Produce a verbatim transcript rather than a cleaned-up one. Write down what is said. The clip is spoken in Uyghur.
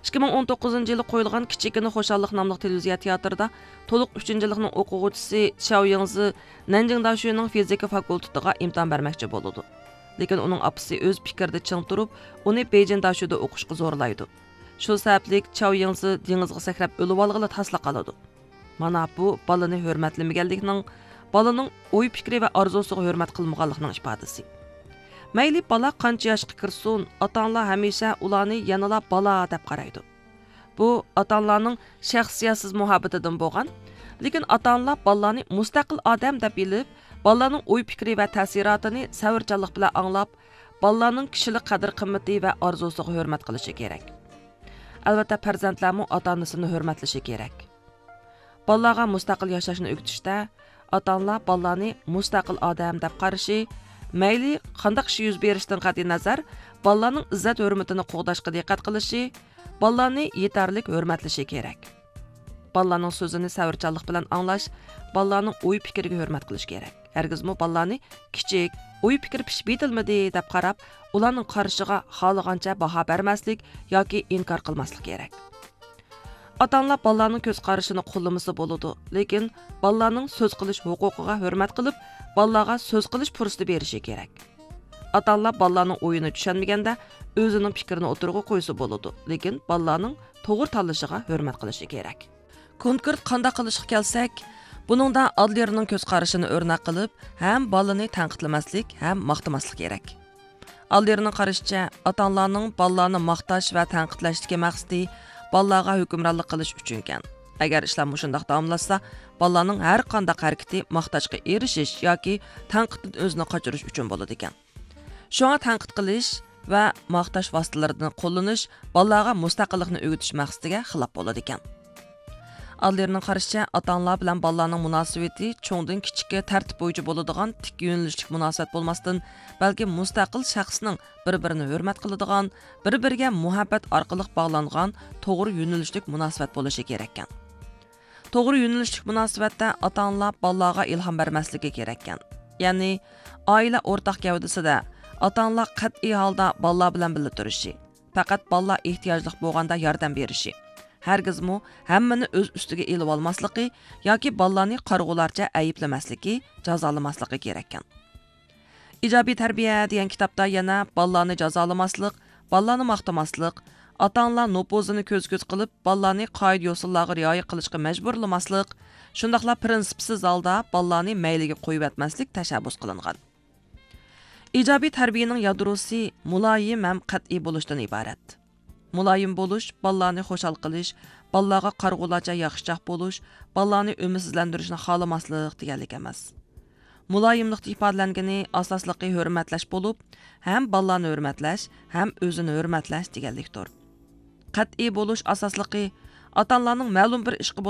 ئىككى مىڭ ئون توققۇزىنچى يىلى قويۇلغان كىچىككىنە خۇشاللىق ناملىق تېلېۋىزىيە تىياتىرىدا تولۇق ئۈچىنچى يىللىقنىڭ ئوقۇغۇچىسى چياۋ يىڭزى نەنجىڭ داشۈنىڭ فىزىكا فاكۇلتېتىغا ئىمتىھان بەرمەكچى بولىدۇ. لېكىن ئۇنىڭ ئاپىسى ئۆز پىكرىدە چىڭ تۇرۇپ، ئۇنى بېيجىڭ داشۈدا ئوقۇشقا زورلايدۇ. شۇ سەۋەبلىك چياۋ يىڭزى دېڭىزغا سەكرەپ ئۆلۈۋالغىلى تاسلا قالىدۇ. مانا بۇ بالىنى ھۆرمەتلىمىگەنلىكنىڭ، بالىنىڭ ئوي پىكرى ۋە ئارزۇسىغا ھۆرمەت قىلمىغانلىقنىڭ ئىپادىسى. مەيلى بالا قانچە ياشقا كىرسۇن، ئاتا ئانىلار ھەمىشە ئۇلارنى يەنىلا بالا دەپ قارايدۇ. بۇ ئاتا ئانىلارنىڭ شەخسىيەتسىز مۇھەببىتىدىن بولغان، لېكىن ئاتا ئانىلار بالىلارنى مۇستەقىل ئادەم دەپ بىلىپ، بالىلارنىڭ ئوي پىكرى ۋە تەسىراتىنى سەۋرچانلىق بىلەن ئاڭلاپ، بالىلارنىڭ كىشىلىك قەدىر قىممىتى ۋە ئارزۇسىغا ھۆرمەت قىلىشى كېرەك. ئەلۋەتتە، پەرزەنتلەرمۇ ئاتا ئانىسىنى ھۆرمەتلىشى كېرەك. بالىلارغا مۇستەقىل ياشاشنى ئۆگىتىشتە، ئاتا ئانىلار بالىلارنى مۇستەقىل ئادەم دەپ قارىشى، مەيلى قانداق ئىش يۈز بېرىشىدىن قەتئىينەزەر، بالىلارنىڭ ئىززەت ھۆرمىتىنى قوغداشقا دىققەت قىلىشى، بالىلارنى يېتەرلىك ھۆرمەتلىشى كېرەك. بالىلارنىڭ سۆزىنى سەۋرچانلىق بىلەن ئاڭلاش، بالىلارنىڭ ئوي پىكرىگە ھۆرمەت قىلىش كېرەك. ھەرگىزمۇ بالىلارنى كىچىك، ئوي پىكرى پىشىپ يېتىلمىدى دەپ قاراپ، ئۇلارنىڭ قارىشىغا خالىغانچە باھا بەرمەسلىك ياكى ئىنكار قىلماسلىق كېرەك. ئاتا ئانىلار بالىلارنىڭ كۆز قارىشىنى قوللىمىسا بولىدۇ، لېكىن بالىلارنىڭ سۆز قىلىش ھوقۇقىغا ھۆرمەت قىلىپ، بالىلارغا سۆز قىلىش پۇرسىتى بېرىشى كېرەك. ئاتا ئانىلار بالىلارنىڭ ئويىنى چۈشەنمىگەندە، ئۆزىنىڭ پىكرىنى ئوتتۇرىغا قويسا بولىدۇ، لېكىن بالىلارنىڭ توغرا تاللىشىغا ھۆرمەت قىلىشى كېرەك. كونكرېت قانداق قىلىشقا كەلسەك، بۇنىڭدا ئادلېرنىڭ كۆز قارىشىنى ئۆرنەك قىلىپ، ھەم بالىنى تەنقىدلىمەسلىك، ھەم ماختىماسلىق كېرەك. ئادلېرنىڭ قارىشىچە، ئاتا ئانىلارنىڭ بالىلارنى ماختاش ۋە تەنقىدلەشتىكى مەقسىتى بالىلارغا ھۆكۈمرانلىق قىلىش ئۈچۈنكەن. ئەگەر ئىشلار مۇشۇنداق داۋاملاشسا، بالىلارنىڭ ھەر قانداق ھەرىكىتى ماختاشقا ئېرىشىش ياكى تەنقىدتىن ئۆزىنى قاچۇرۇش ئۈچۈن بولىدىكەن. شۇڭا تەنقىد قىلىش ۋە ماختاش ۋاسىتىلىرىنى قوللىنىش بالىلارغا مۇستەقىللىقنى ئۆگىتىش مەقسىتىگە خىلاپ بولىدىكەن. ئادلېرنىڭ قارىشىچە، ئاتا ئانىلار بىلەن بالىلارنىڭ مۇناسىۋىتى چوڭدىن كىچىككە تەرتىپ بويىچە بولىدىغان تىك يۆنىلىشلىك مۇناسىۋەت بولماستىن، بەلكى مۇستەقىل شەخسنىڭ بىر بىرىنى ھۆرمەت قىلىدىغان، بىر بىرىگە مۇھەببەت ئارقىلىق باغلانغان توغرا يۆنىلىشلىك مۇناسىۋەت بولۇشى كېرەككەن. توغرا يۆنىلىشلىك مۇناسىۋەتتە ئاتا ئانىلار بالىلارغا ئىلھام بەرمەسلىكى كېرەككەن. يەنى، ئائىلە ئورتاق گەۋدىسىدە ئاتا ئانىلار قەتئىي ھالدا بالىلار بىلەن بىللە تۇرۇشى، پەقەت بالىلار ئېھتىياجلىق بولغاندا ياردەم بېرىشى، ھەرگىزمۇ ھەممىنى ئۆز ئۈستىگە ئېلىۋالماسلىقى ياكى بالىلارنى قارىغۇلارچە ئەيىبلىمەسلىكى، جازالىماسلىقى كېرەككەن. ئىجابىي تەربىيە دېگەن كىتابتا يەنە بالىلارنى جازالىماسلىق، بالىلارنى ماختىماسلىق، ئاتا ئانىلار نوپۇزىنى كۆز كۆز قىلىپ، بالىلارنى قائىدە يوسۇنلارغا رىئايە قىلىشقا مەجبۇرلىماسلىق، شۇنداقلا پىرىنسىپسىز ھالدا بالىلارنى مەيلىگە قويۇۋەتمەسلىك تەشەببۇس قىلىنغان. ئىجابىي تەربىيەنىڭ يادروسى مۇلايىم ھەم قەتئىي بولۇشتىن ئىبارەت. مۇلايىم بولۇش، بالىلارنى خۇشال قىلىش، بالىلارغا قارىغۇلارچە ياخشىچاق بولۇش، بالىلارنى ئۈمىدسىزلەندۈرۈشنى خالىماسلىق دېگەنلىك ئەمەس. مۇلايىملىقتا ئىپادىلەنگىنى ئاساسلىقى ھۆرمەتلەش بولۇپ، ھەم بالىلارنى ھۆرمەتلەش، ھەم ئۆزىنى ھۆرمەتلەش دېگەنلىكتۇر. قەتئىي بولۇش ئاساسلىقى ئاتا ئانىلارنىڭ مەلۇم بىر ئىشقا